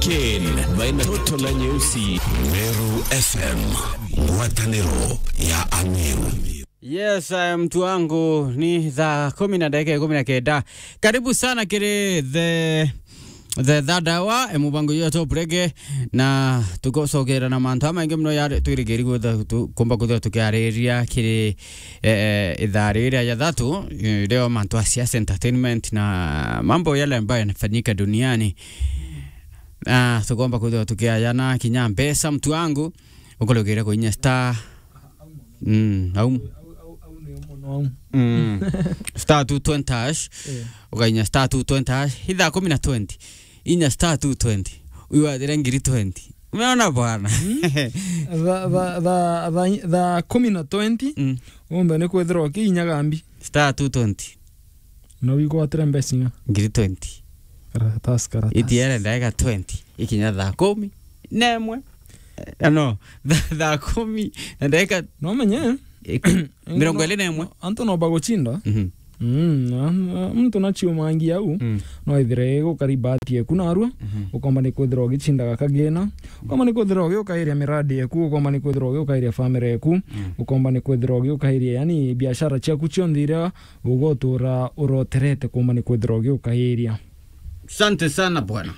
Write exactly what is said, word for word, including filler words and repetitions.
Ken, baina toto la nyeusi. Meru F M, ngwatanĩro ya Ameru. Yes, eh, mtu wangu, ni thaa kumi na dakika ikumi na kenda. Karibu sana kiri the, the third hour, eh, mubango yo Top Reggae, na tugocogera na mantu amaingi muno yari twirigiri gwitha tu-, kumba kwithirwa tukiariria kiri, eh, eh, ithaa riria ya thatu, eh, leo mantu a siasa, entertainment na mambo yale ambayo yanafanyika duniani. Ah, tugomba kwithirwa tukiayana kinya mbeca, mtu wangu, ukurugire kuinya star. Mm, au. Mm. Star two twenty hash. Eh. Ukainya star two twenty hash. Ithaa kumi na twenty. Inya star two twenty. Uyu athire ngiri twenty. Umeona bwana? Mm. Tha-, tha-, tha-, tha-, thaa kumi na twenty. Mm. Umbe ni kwithirwa ukiinyaga mbi. Star two twenty. Na wigwatire mbeca ing'a? Ngiri twenty. Karatasi, karatasi. Itiere ndagika twenty. Ikinya thaa kumi na imwe. Eh, no, tha-, thaa kumi na ndagika No menye. iku-, mirongo iri na imwe. Antu no bagucinda. Mhm. Mm, na, na, muntu naciumangia au, Mm. no ithire igukari bahati yeku narua, Mhm. ukomba ni kwithirwa ugicindaga kagina, ukomba ni kwithirwa ugiukairia miradi yeku, ukomba ni kwithirwa ugiukairia family yeku, Mm. ukomba ni kwithirwa ugiukairia, yani, biashara ciaku cionthe iria ugotura uroterete, ukomba ni kwithirwa ugiukairia. Asante sana bwana.